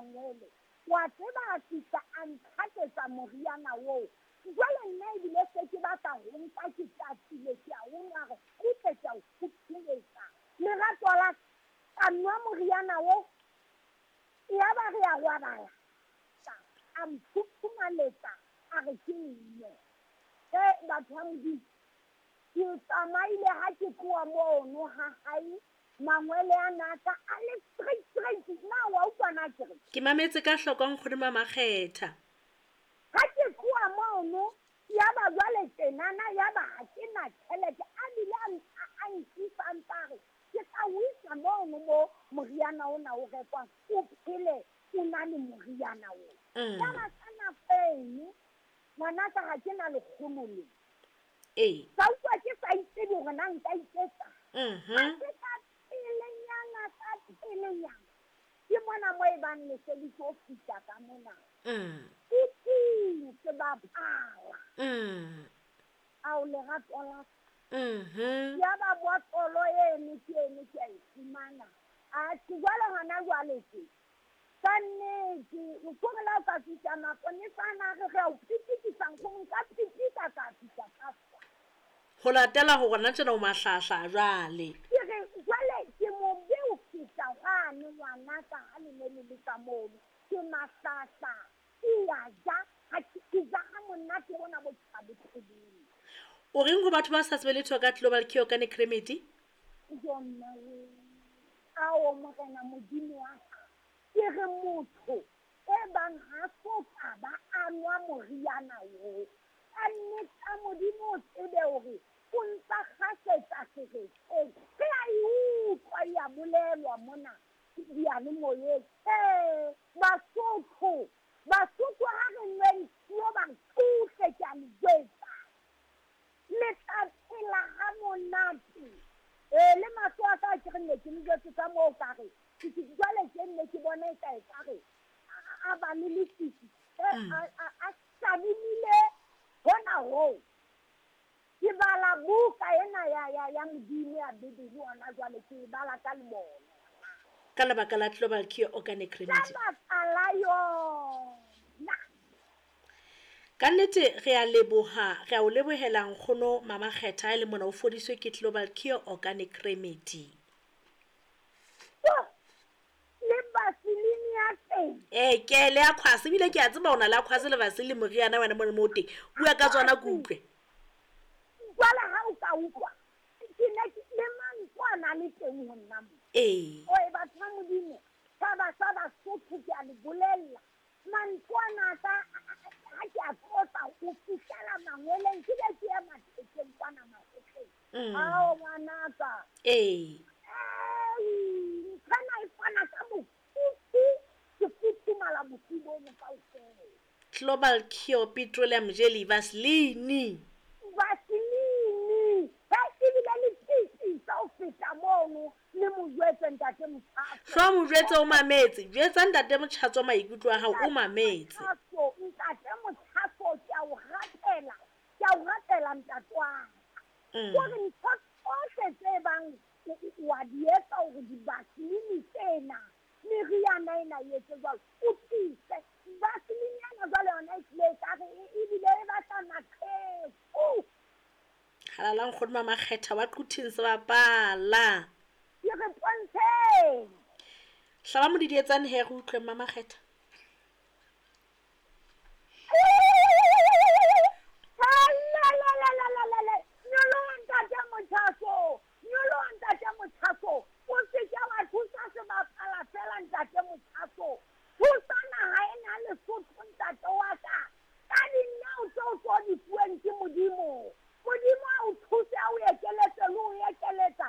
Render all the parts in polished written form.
mangwele. Wa tseba a fihla a ntlhaketsa moriana oo. Jwale nna ebile se ke batla ho nka ke tatile ke a o nwa re kgutle ke a o phuthuletsa. Lerato la ka nwa moriana oo. Yaba re a robala. A mphuphumaletsa a re ke nne. E batho ba Modimo, ke tsamaile ha ke tloha mono ha hae mangwele a naka a le straight straight. Na wa utlwa na ke re? Ke mametse ka hloko nkgono Mamakgetha. Ha ke tloha mono yaba jwale tjenana yaba ha ke na tjhelete a bile a nkisa a ntsa re ke tla o isa mono mo moriana ona o rekwang o phele o na le moriana oo. Yaba ka nako eno ngwanaka ha ke na lekgolo le. Ee. Ka utlwa ke sa itsebe hore na nka iketsa. Ha ke ka pelenyana ka pelenyana. Ke mona mo e bang le se le tlo fihla ka mona. Ke sebapala. Ao lerato la Yaba botlolo eno ke eno ke a e fumana. Atjhe jwale hona jwale ke. Ka nnete, nkgono la o ka fihla maponesa ana re re a o pitikisa nkgono nka pitika ka fihla ka fa. Ho latela hore na tjena o mahlahla jwale. Ke re jwale ke mobe o fihla hwane ngwanaka ha le ne le le ka mono. Ke mahlahla, ke a ja, ha ke ja ha monate bona bo ke sa bo tsebeng. O reng ho batho ba sa tsebe letho ka Global Cure Organic Remedy? Jo nna we. Ao Morena Modimo wa ka. Ke re motho e bang ha so ka ba a nwa moriana oo. Ka nnete Modimo o tsebe hore o ntsa kgasetsa seretseng. Re a e utlwa e a bolelwa mona diyalemoyeng. Basotho, Basotho ha re nweng tio ba tsohle ke a le jwetsa. Le tla phela ha monate. Le mahlo a ka ke re ne ke le jwetse ka moo ka re. Ke jwale ke nne ke bone e ka e ka re a ba le lefifi. A shadimile hona hoo. Ke bala buka ena ya Modimo ya Bibele hona jwale ke e bala ka lebone. Ka lebaka la Global Cure Organic Remedy. Ka lebaka la yona. Ka nnete re a leboha, re a o lebohela nkgono Mamakgetha e le mona o fodiswe ke Global Cure Organic Remedy. Le vaseline ya teng. Ke le aquas ebile ke a tseba o na le aquas le vaseline moriana wena mona mo teng. Bua ka tsona ke utlwe. Jwale ha o ka utlwa ke ne le mantswe a na le teng ho nna mo. Ee. Oe batho ba Modimo, tjhaba sa Basotho ke a le bolella. Mantswe ana ka ha ke a tlotsa ho fihlela mangweleng ke be ke ye mathekeng kwana makgotleng. Ao ngwanaka. Ee. Nthwena e fana ka mofuthu, ke futhumala bosiu bono kaofela. Global Cure Petroleum Jelly Vaseline. Vaseline. Ha ebile le pitisa ho feta mono le mo jwetse ntate Motjhatso. Hlo mo jwetse o mametse. Jwetsa ntate Motjhatso maikutlo a hao o mametse. Motjhatso, ntate Motjhatso ke a o rapela. Ke a o rapela ntate wa ka. Hore ntho tsohle tse bang wa di etsa hore di-vaseline tsena meriana ena e etse jwalo o tlise vaseline ena jwale yona e tlile e ka re ebile e batla maqheku. Halala nkgono Mamakgetha wa Quthing sebapala. Ke re pontsheng. Hlaba modidietsane he re utlwe Mamakgetha. Nyoloha ntate Motjhatso. Nyoloha ntate Motjhatso. O se ke wa thusa sebapala fela ntate Motjhatso. Thusa naha ena Lesotho ntate wa ka. Ka dinao tseo tso di fuweng ke Modimo. Modimo a o thuse a o ekeletse le o ekeletsa.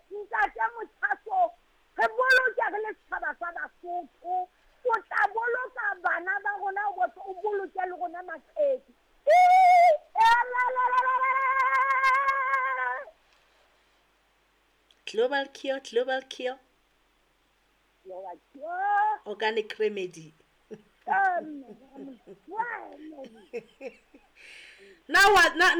Ntate Motjhatso, re boloke re le setjhaba sa Basotho. O tla boloka bana ba rona o boloke le rona maqheku. Global Cure, Global Cure. Global Cure. Organic Remedy. Now what? Now